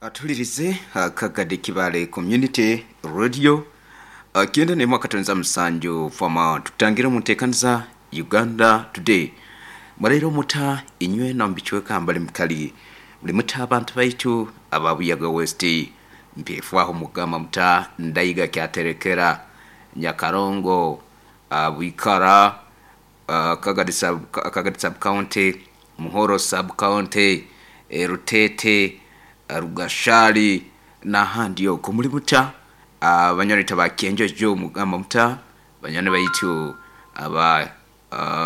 Atuhulirize Kagadi Kibale Community Radio kyenda n'emwe akatonza musanju fama tukutangira omu nteekaniza Uganda Today. Muraire omuta inywe na omu bicweka mbali mukali muli muta abantu baitu aba Buyaga West mpefwaho mugamba muta Ndaiga Kyaterekera Nyakarongo Bwikara Kagadi sub, Kagadi sub county Muhoro sub county Rutete Rugashari n'ahandi okwo muli muta abanywani ba Kyenjojo mugamba muta banywani baitu aba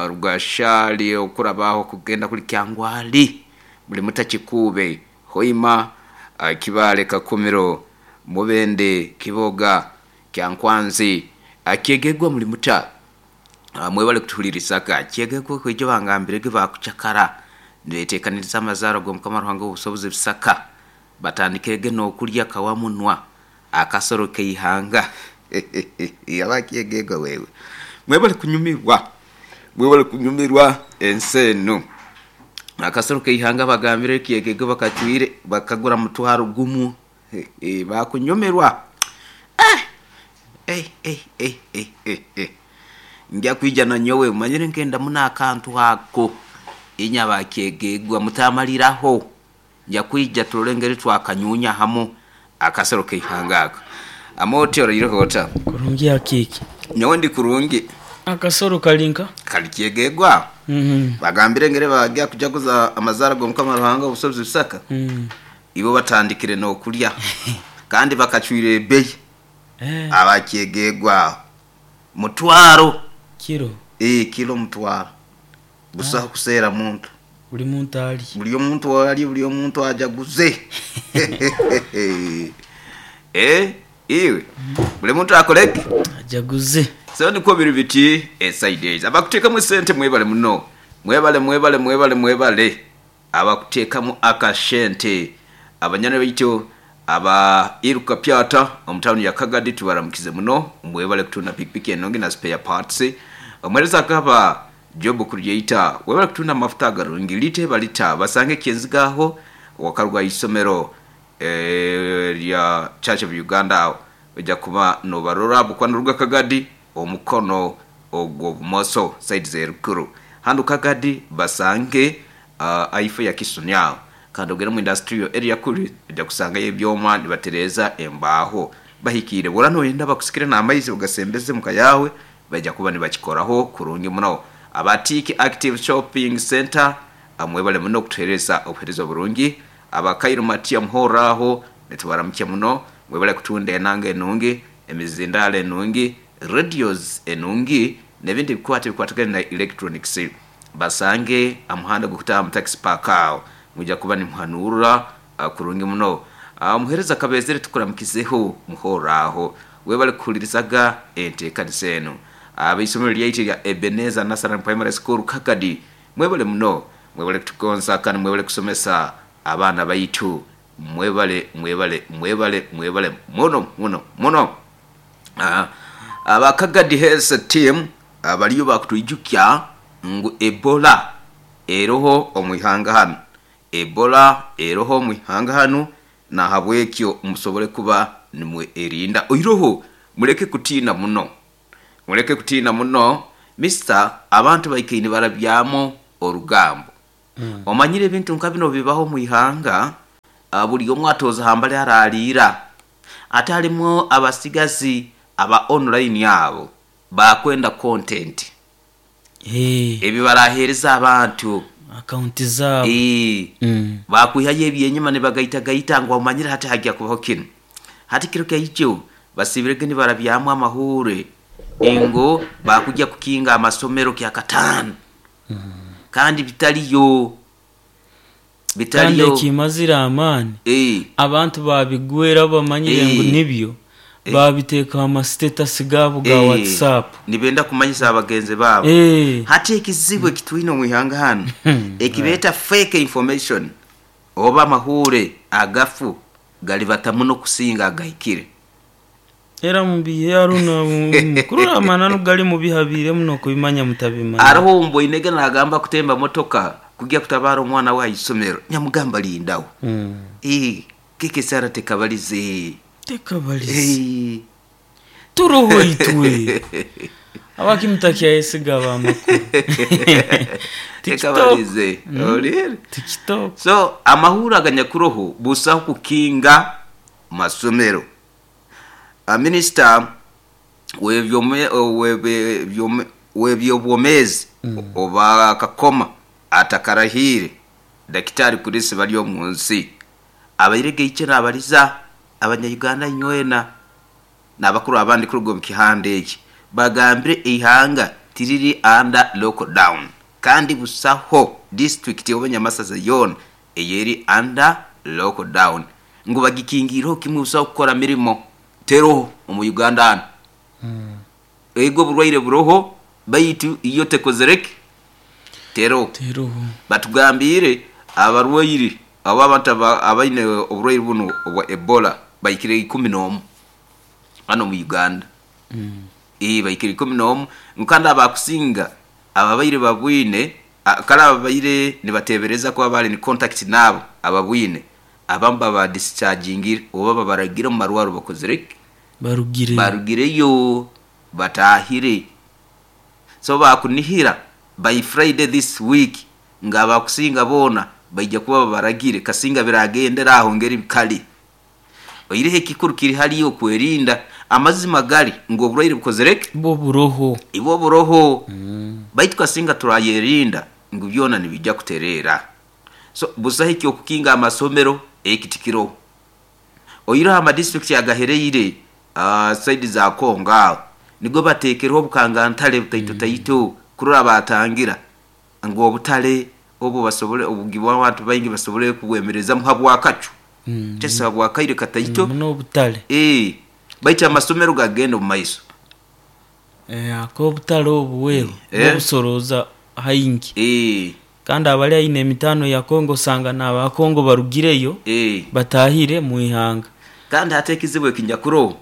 Rugashari okurabaho kugenda kuli Kyangwali muli muta Kikuube Hoima Kibale Kakumiro Mubende Kiboga Kyankwanzi Kyegegwa muli muta mwebale kutuhulirizaga Kyegegwa kwijo bangambirege bakucakara nibetekaniriza amazaaro g'omukama Ruhanga w'obusobozi Bisaka batandikirege n'okulya kawamunwa akasoro keihanga abakyegegwa wewe mwebale kunyumirwa mwebale kunyumirwa ensi enu akasoro keihanga bagambire kyegegwa bakacwire bakagura mutwaro gumu bakunyumirwa nja kwija na nyowe manyire nkenda muna akantu ako inya bakyegegwa mutamaliraho nja kwija turole twakanyunya hamu akasoro keihanga ako amoti oraireho ota Kurungi akiki. Nyowe ndi kurungi. Akasoro kalinka? Kali kyegegwa. Bagambire ngere bagya kujaguza amazara g'omukama Ruhanga obusobozi Bisaka. Ibo batandikire n'okulya kandi bakacwire ebeyi. Abakyegegwa mutwaro kiro. Kilo mutwaro. Busaho kuseera muntu. Buli muntu ali. Buli omuntu ali, buli omuntu ajaguze. Iwe. Buli muntu akoleke. Ajaguze. So niko biri biti side abakuteekamu sente mwebale muno. Mwebale mwebale mwebale mwebale. Abakuteekamu akashente. Abanyana baitu aba Iruka Pyata omu town ya Kagadi tubaramukize muno. Mwebale kutunda pikipiki enongi na spare parts. Omwereza akaba Job Creator webale kutunda amafuta agarungi lite balita basange kyenzigaho wakarwa isomero lya Church of Uganda ojja kuba nobarora bukwano ruga Kagadi omukono ogwo bumoso side zerukuru handu Kagadi basange aifo ya Kisunya kandi ogere mu industrial area kuri ojja kusanga ebyoma nibatereza embaho bahikire bora noyenda bakusikire n'amaizi ugasembeze muka yawe bajja kuba nibakikoraho kurungi muno. Abatiki Active Shopping Center amwebale muno kutuhereza obuhereza burungi. Abakairu Matia Muhoraho nitubaramukia muno mwebale kutunda enanga enungi emizindalo enungi radios enungi n'ebindi bikwate bikwatagana na electronics basange amuhanda gukutaha mu taxi park aho mujja kuba nimuhanura kurungi muno. Omuhereza kabezere tukuramukizeho Muhoraho webale kuhulirizaga enteekanisa eno. Abaisomero lyaitu lya Ebenezer Nasaran Primary School Kagadi mwebale muno mwebale kutugonza kandi mwebale kusomesa abaana baitu mwebale mwebale mwebale mwebale muno muno muno. Abakagadi Health Team abaliyo bakutwijukya ngu Ebola eroho omwihanga hanu. Ebola eroho omwihanga hanu na habwekyo musobole kuba nimwe erinda oiroho muleke kutiina muno. Muleke kutiina muno Mr. Abantu baikaine barabyamo orugambo. Omanyire ebintu nka bino bibaho mwihanga buli omwe atoza hambali araliira ate halimu abasigazi aba online abo bakwenda content ebi barahereza abantu akaunti zabo bakwihayo ebyenyuma nibagaitagaita ngu omanyire hati hajya kubaho kino hati kiro kyaijo basibirege nibarabyamu amahure engo bakujya kukinga amasomero kya katano kandi bitaliyo bitaliyo kandi kimazira amani abantu babigwera bamanyire ngu nibyo babiteeka ama status gabo ga WhatsApp nibenda kumanyisa abagenzi babo hati ekizibu ekitwine omwihanga hano ekibeta fake information oba amahure agafu galibata muno kusinga agahikire era mubihe aruna kurura amananu gali mubihabire muno kubimanya mutabimanya araho mboinege nagamba kutemba motoka kujya kutabara omwana we aisomero nyamugamba lindawo Keke Sara tekabalize. Tekabalize. Eh. Turoho itwe. Abaki mutakyayesiga abamakuru? TikTok. Tekabalize. Olire. TikTok. So amahuri aganyakuroho busaho kukinga masomero. Minisita webyobwomezi oba Kakoma atakarahire, Dakitari Chris bali omunsi abaire geiche nabaliza abanyayuganda nywena n'abakuru abandi kuruga omu kihanda eki, bagambire eihanga tiriri under lockdown, kandi busaho district oba nyamasaza yoona eyeri under lockdown ngu bagikingiireho kimwe, busaho kukora mirimo teroho omu Uganda hanu. Ego, oburwaire buroho, baitu iyo tekozereki teroho. Teroho. Batugambire abarwaire abo, abantu abaine oburwaire buno obwa Ebola baikire 11 hano mu Uganda. Baikire 11, kandi abakusinga ababaire babwine, kale ababaire nibatebereza kuba bali ni contact nabo ababwine, abamu baba dischargingire oba babaragire omu marwaro bakozire ki? Barugire. Barugireyo batahire. So bakunihira by Friday this week nga abakusinga boona baija kuba babaragire, kasinga biragendera aho ngeri bikali. Oireho ekikuru kiri hariyo okwerinda. Amazima gari ngu oburwaire bukozire ki? Bwo buroho. Ibwo buroho, baitu kasinga turayerinda ngu byona nibijja kutereera. So busaho ekyokukinga amasomero, eki tikiroho. Oireho amadistrict agahereire side za Kongo aho nigo bateekereho obukangantale butaito taito kurora batangira ngu obutale obu basobole obugibwa abantu baingi basobole kubwemerezamu habwakacu, kyesa habwakaire kataito. N'obutale. Baitu amasomero gagenda omu maiso. Ak'obutale obu wewe bobusoroza haingi, kandi abali aine emitaano ya Kongo, osanga n'aba Kongo barugireyo batahire mu ihanga. Kandi hati ekizibu ekinyakuroho,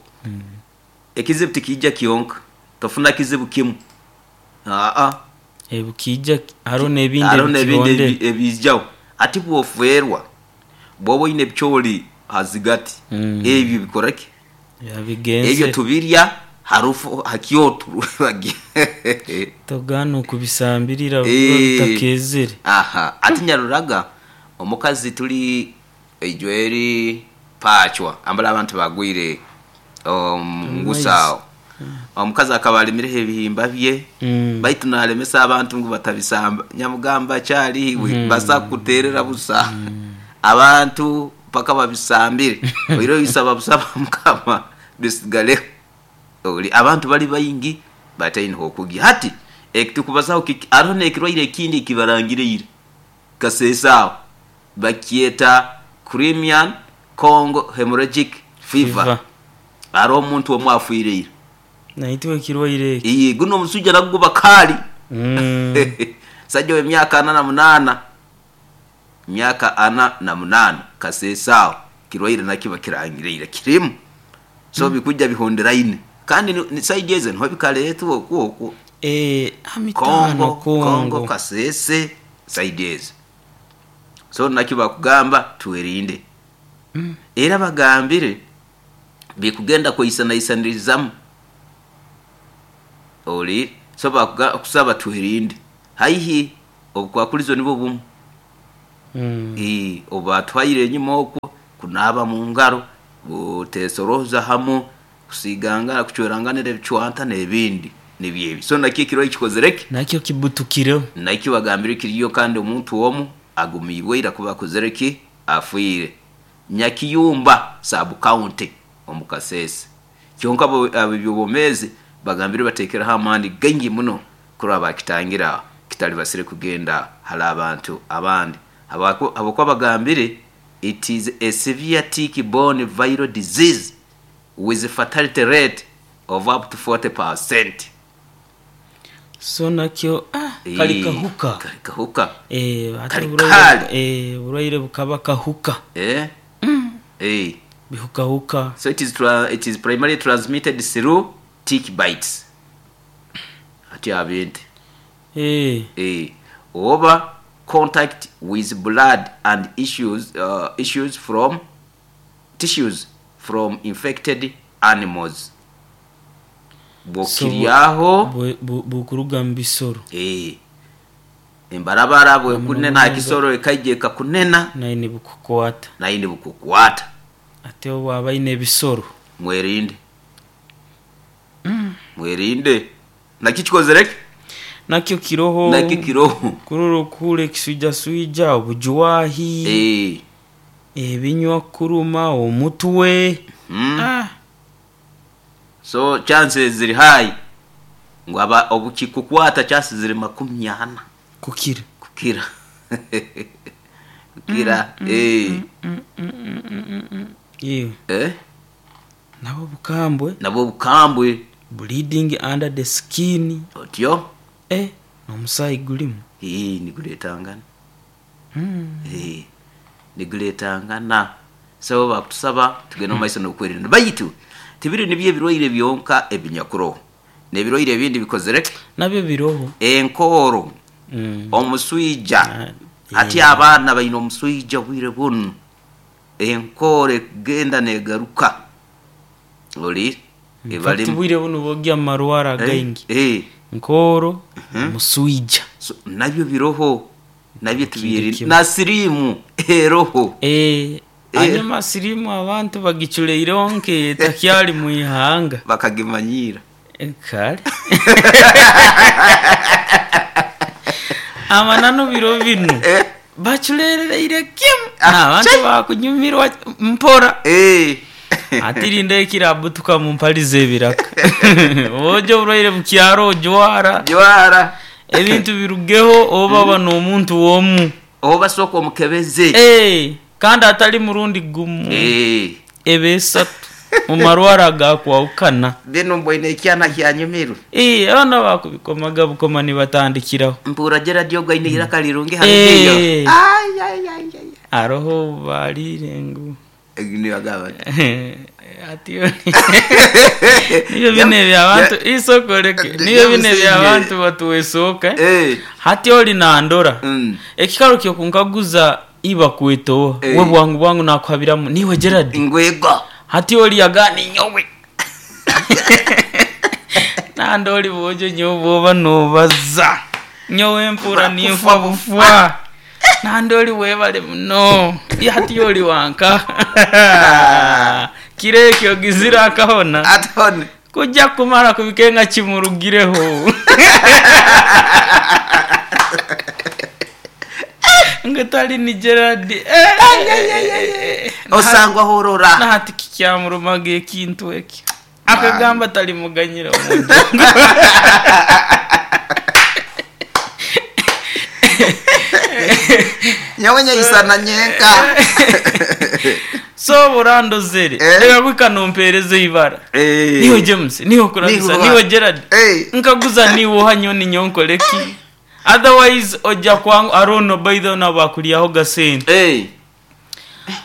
ekizibu tikiija kyonka, tofuna kizibu kimu, aa. Bukija hariho n'ebindi. Hariho n'ebindi. Ebikihondera. Ebiijaho ati bwofeerwa bwoba oine ebicoori hazigati, ebyo bikora ki? Yabigenze. Ebyo tubirya harufu hakyoto. Togana okubisambirira biba bitakezere. Aha ati nyaruraga omukazi tuli ejweri pachwa ambala abantu bagwire ngusaawo, omukazi akaba alimireho ebihimba bye, baitu nalemesa abantu ngu batabisamba. Nyamugamba kyaliwe basa kuterera busa abantu paka babisambire. Oiro bisaba busaba mukama bisigaleho. Oli abantu bali baingi bataine okugya. Hati ekitukubazaho kiki? Hariho n'ekirwaire ekindi ekibarangireire kasesa aho, bakyeta Crimean Congo hemorrhagic fever. Fever. Hariho omuntu omwe afiireire. Naitwe ekirwaire eki. Iye, guno omusujja nagwo bakaali. Sajja w'emyaka 48, myaka 48, kasesa aho kirwaire nakyo bakirangireire kirimu. So bikujja bihonderaine, kandi ni side ezo niho bikaletwa okwo okwo. Amitaano. Kongo Kongo. Kongo. Kasese side ezo. So nakyo bakugamba twerinde. Era bagambire bikugenda kweisanaisanirizamu oli. So bakusaba twerinde haihi obukwakulizo nibwo bumu. Obatwaire enyuma okwo kunaaba mu ngaro, butesoroza hamu, kusigangana, kucweranganira ebicwanta n'ebindi nibyo ebi. So nakyo ekirwaire kikozire ki? Nakyo kibutukireho. Nakyo bagambire kiriyo, kandi omuntu omu agumiibwe ira kuba akozire ki? Afiire Nyakiyumba sub county omu Kasese. Kyonka abebyobwomezi bagambire batekereho amaani gaingi muno kuraba bakitangira kitalibasire kugenda hali abantu abandi. Habwokuba bagambire it is a severe tick borne viral disease with a fatality rate of up to 40%. So nakyo kali kahuka. Kali kahuka. Ate Kali oburwaire kali. Oburwaire bukaba kahuka. Bihukahuka. So it is primarily transmitted through tick bites. Ati abente. Oba contact with blood and issues from tissues from infected animals. Bwokiryaho bukuruga mu bisoro. Embarabara bwekunena akisoro ekaija ekakunena naye nibukukwata. Naye nibukukwata. Ate obwaba aine ebisoro mwerinde. Mwerinde. Nakyo kikozere ki? Nakyo kiroho. Nakyo kiroho. Kurora okuhura ekiswijaswija, obujwahi, ebinywa kuruma, omutwe. So chances ziri high ngu aba obukikukwata chances ziri 40. Kukira. Kukira. Kukira. Nabo bukambwe. Nabo bukambwe. Bleeding under the skin. Otyo. N'omusaayi gulimu. Niguletangana. Niguletangana. So bakutusaba tugende mu maiso n'okwerinda. Baitu tibiri nibyo ebirwaire byonka ebinyakuroho. N'ebirwaire ebindi bikozere nabyo biroho. Enkooro. Omuswija. Ati abaana baine omuswija obwire bunu. Enkooro egenda negaruka. Oli ebali bwire bunu bogya marwara gaingi. Nkooro, muswija. So, nabyo biroho. Nabyo tubiri na sirimu eroho. Anyuma sirimu abantu bagiculeire nke takyali muihanga. Bakagimanyira. Kale. Amanano biro binu. Baculeire kimu. Abantu bakunyumirwa mpora. Atirinda ekirabutuka mumpalize ebiraka. Ojo burwaire mukyaro ojwara. Jwara. Ebintu birugeho oba bano omuntu womu. Oba soko omukebeze. Kandi atali murundi gumu. Ebesatu mu marwara gakwawukana. Bino mbwene ekyana kyanyumirwe. Abana bakubikomaga bukoma nibatandikiraho. Mpura Gerard ogaine iraka lirungi hariyo. Ay ay ay ay. Aroho balire ngu. Nibagaba. Ati niyo bine bya isoko leke. Niyo bine bya abantu batuwesoka. Hati oli nandora. Ekikaro kyo kunkaguza iba kwetoa. We bwangu bwangu nakuhabiramu niwe Gerard. Ngwego. Hati oli agani nyowe. Nandoli bojo nyobo nobaza. Nyowe mpura nimfa bufwa. Nandoli webale muno. Hati oli wanka. Kirekyo gizira akahona. Atone. Kujja kumara kubikenga kimurugireho. Ngatali ni Gerard. Osangwa horora. Na hati kikyamurumaga ekintu eki. Akagamba tali muganyira omuntu. Nyawe nyayisana nyenka. So burando zere. Reka kwikanumpereze ibara. Niho James, niho kurabisa, niho Gerard. Nkaguza niwo hanyoni nyonkoleki. Otherwise oja kwangu arono by the na bakuliaho gasente.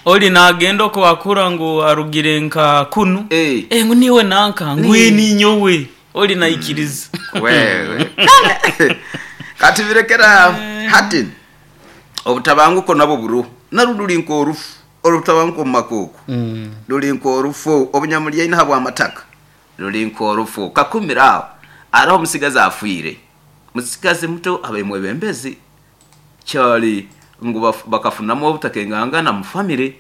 Oli nagenda ko akura ngo arugire nka kunu. Ngo niwe nanka ngwe ni nyowe. Oli naikiriza. Wewe. Kati birekera hati. Obutabanguko nabo buru. Naruduli nko orufu. Olutabanguko makoko. Luli nko orufu obunyamulya ina habwa amataka. Luli nko orufu kakumira araho musigaza afuire. Musigaze muto abaye mwebembezi. Kyali ngu bakafunamo obutakengangana mu family.